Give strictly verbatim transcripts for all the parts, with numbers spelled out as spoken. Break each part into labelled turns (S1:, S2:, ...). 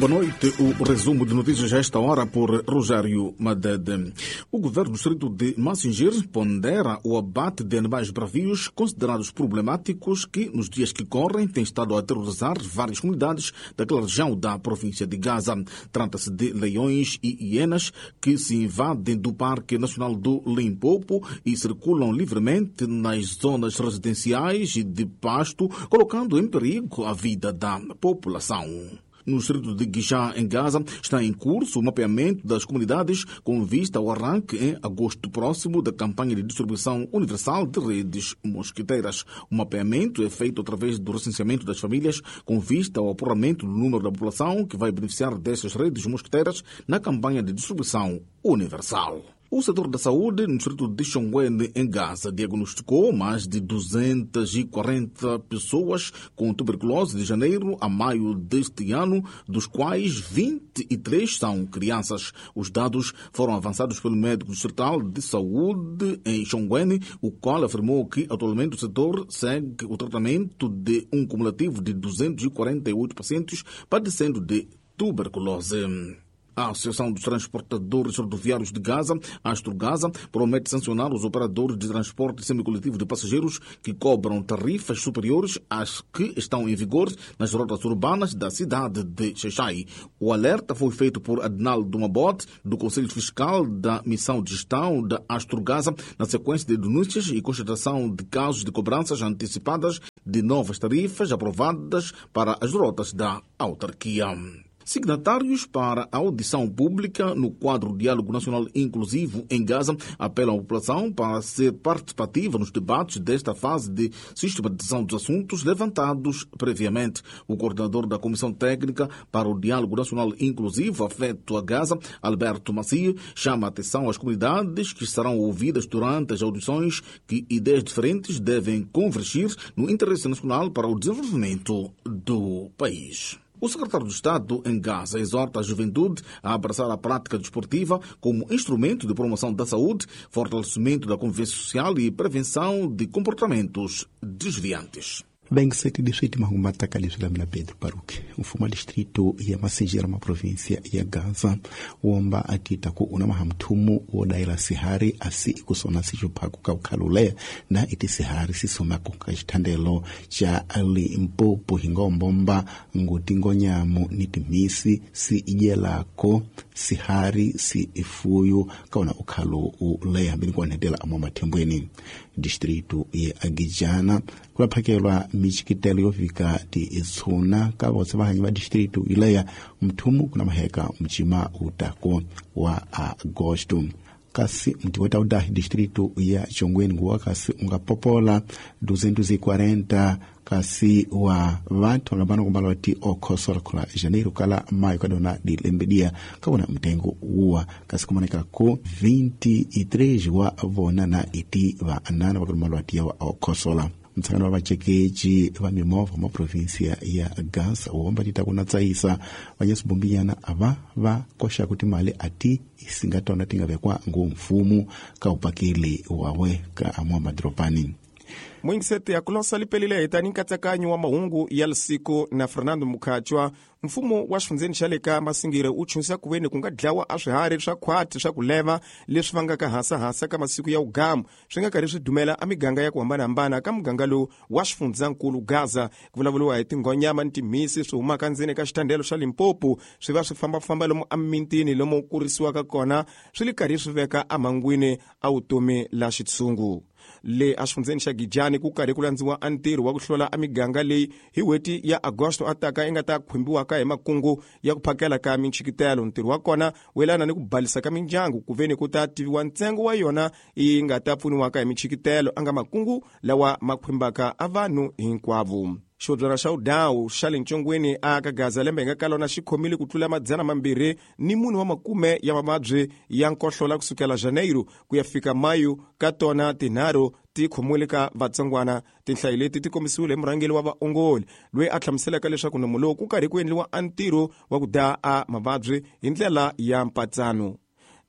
S1: Boa noite. O resumo de notícias a esta hora por Rogério Madede. O governo do distrito de Massingir pondera o abate de animais bravios considerados problemáticos que, nos dias que correm, têm estado a aterrorizar várias comunidades daquela região da província de Gaza. Trata-se de leões e hienas que se invadem do Parque Nacional do Limpopo e circulam livremente nas zonas residenciais e de pasto, colocando em perigo a vida da população. No distrito de Guijá, em Gaza, está em curso o mapeamento das comunidades com vista ao arranque em agosto próximo da campanha de distribuição universal de redes mosquiteiras. O mapeamento é feito através do recenseamento das famílias com vista ao apuramento do número da população que vai beneficiar destas redes mosquiteiras na campanha de distribuição universal. O setor da saúde no distrito de Xonguene, em Gaza, diagnosticou mais de duzentas e quarenta pessoas com tuberculose de janeiro a maio deste ano, dos quais vinte e três são crianças. Os dados foram avançados pelo médico distrital de saúde em Xonguene, o qual afirmou que atualmente o setor segue o tratamento de um cumulativo de duzentos e quarenta e oito pacientes padecendo de tuberculose. A Associação dos Transportadores Rodoviários de Gaza, Astrogaza, promete sancionar os operadores de transporte semicoletivo de passageiros que cobram tarifas superiores às que estão em vigor nas rotas urbanas da cidade de Xaixai. O alerta foi feito por Adnaldo Mabot, do Conselho Fiscal da Missão de Gestão da Astrogaza, na sequência de denúncias e constatação de casos de cobranças antecipadas de novas tarifas aprovadas para as rotas da autarquia. Signatários para a audição pública no quadro Diálogo Nacional Inclusivo em Gaza apelam à população para ser participativa nos debates desta fase de sistematização dos assuntos levantados previamente. O coordenador da Comissão Técnica para o Diálogo Nacional Inclusivo afeto a Gaza, Alberto Macia, chama a atenção às comunidades que serão ouvidas durante as audições que ideias diferentes devem convergir no interesse nacional para o desenvolvimento do país. O secretário de Estado em Gaza exorta a juventude a abraçar a prática desportiva como instrumento de promoção da saúde, fortalecimento da convivência social e prevenção de comportamentos desviantes.
S2: Bem-sete distrito Mahumata Kalislamina Pedro Paruque, o fuma distrito ya Massingir ma província ya Gaza, womba atita ku una mahamthumu wodaila sihari asi ikusona sixuphaku ka ukhalule na iti sihari sisomako ka xithandelo xa Limpopo hingombomba nguti ngonyamu ni timhisi si idyelako sihari si ifuyu kaona ukhalo uleya hambeni kuonetela amwa mathembweni. Distrito ya Agijana kulaphakelwa michikitelo yofika ti itsuna ka votse vahanyi va distrito ileya mthumu kuna maheka mchima utako wa agosto. Kasi mti weta udahi distrito ya Chongweni nguwa kasi ungapopola duzentos e quarenta kasi wa vantu vangabana kumbala wati okhosola khola janeiro kala maio kadona dilembedia kawona mtengo uwa kasi kumaneka ku vinte e três wa vona na iti va anana vakulumala wati ya wa okhosola. Mtsangano wa vacekeji va mimovha ma província ya Gaza womba tita kuna tsaisa vanyasibombinyana ava va koxa kuti mali ati isingatona tingavekwa ngomfumu ka upakeli wawe ka amwa madropani.
S3: Mwingisete ya kulosa lipelile hitani nkatsakanyo wa mahungu ya lisiku na Fernando Mukhachwa. Mfumo wa xifundzeni xa le ka Massingir wu chunsa kuveni ku nga dlawa a swiharhi swa khwati swa ku leva leswi vangaka hasahasa ka masiku ya ugamu swi nga karhi swi dumela a miganga ya ku hambanahambana ka muganga lowu wa xifundzankulu Gaza. Ku vulavuriwa hi tinghonyama ni timhisi swi humaka ndzeni ka xithandelo xa Limpopo swi va swi fambafamba lomu emimintini lomu kurisiwaka kona swi li karhi swi veka emhangwini a vutomi la xitshungu. Le exifundzeni xa Gijani ku karhi ku landziwa a ntirho wa ku hlola a miganga leyi hi n'hweti ya Agosto ataka yi nga ta khumbiwaka hi makungu ya ku phakela ka minchikitelo. Ntirho wa kona wu yelana ni ku balisa ka mindyangu ku veni ku ta tiviwa ntsengo wa yona yi nga ta pfuniwaka hi minchikitelo a nga makungu lawa ma khumbaka a vanhu hinkwavo. Xodlwana xa udawu xa le ntshongweni a ka Gaza lembe hi nga ka lona xi khomile ku tlula madzana mambirhi ni mune wa makume ya mavabyi ya nkohlola kusukela Janeiro ku ya fika Mayu ka tona tinharhu ti khomiwile ka vatsongwana. Tinhlayo leti ti kombisiwile hi murhangeri wa vaongoli loyi a hlamuselaka leswaku nomu lowu ku karhi ku endliwa a ntirho wa ku daya a mavabyi hi ndlela ya mpatsano.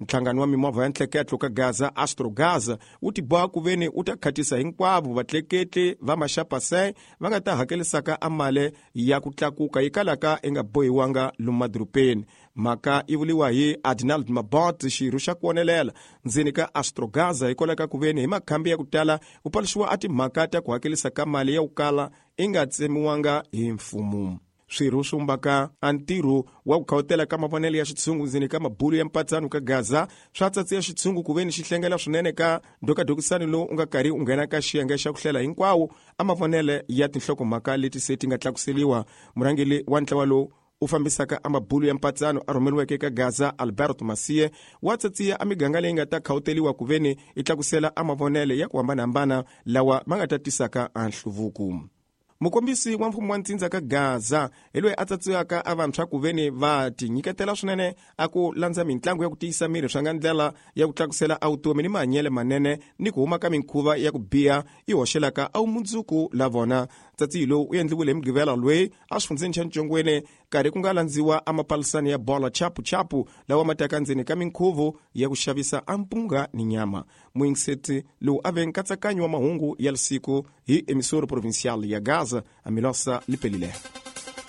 S3: Nhlangano wa mimovha ya ntleketlo ka Gaza Astrogaza wu tiboha ku veni wu ta khatisa hinkwavo vatleketli va maxapase va nga ta hakelisaka amale ya ku tlakuka yi kalaka i nga bohiwanga lomu madorobeni. Mhaka yi vuliwa hi Adinald Mabot, xirho xa ku onelela ndzeni ka Astrogaza, hikwalaho ka ku veni hi makhambi ya ku tala ku paluxiwa a timhaka ta ku hakelisa ka mali ya ku kala i nga tsemiwanga hi mfumo. Swirho swi vumbaka a ntirho wa ku khawutela ka mavonelo ya xitshungu ndzeni ka mabulu ya mpatsano ka Gaza swa tsatsiya xitshungu ku veni xi hlengela swinene ka ndokadokisani lowu u nga karhi u nghena ka xiyenge xa ku hlela hinkwawo a mavonelo ya tinhlokomhaka leti se ti nga tlakuseliwa. Murhangeri wa ntlawa lowu u fambisaka a mabulu ya mpatsano a rhumeriweke ka Gaza Alberto Masie wa tsatsiya a miganga leyi nga ta khawuteliwa ku veni i tlakusela a mavonelo ya ku hambanahambana lawa ma nga ta tisaka a nhluvuko. Mukombisi wa mfumo wa ntsindza ka Gaza hi loyi a tsatsiwaka a vantshwa ku veni va tinyiketela swinene a ku landza mitlangu ya ku tiyisa miri swa nga ndlela ya ku tlakusela a vutomi ni mahanyelo manene ni ku huma ka minkhuva ya ku biha yi hoxelaka a vumundzuku la vona. Tsatsiyi lowu u endliwile hi Mugqivela loyi a xifundzeni xa Ntshongweni karhi ku nga landziwa a mapalisani ya bola chapuchapu lawa ma taka ndzeni ka minkhuvo ya ku xavisa a mpunga ni nyama. Muyingiseti lowu a ve nkatsakanyo wa mahungu ya siku hi emisoro provincial ya Gaza a Milosa Lipelile.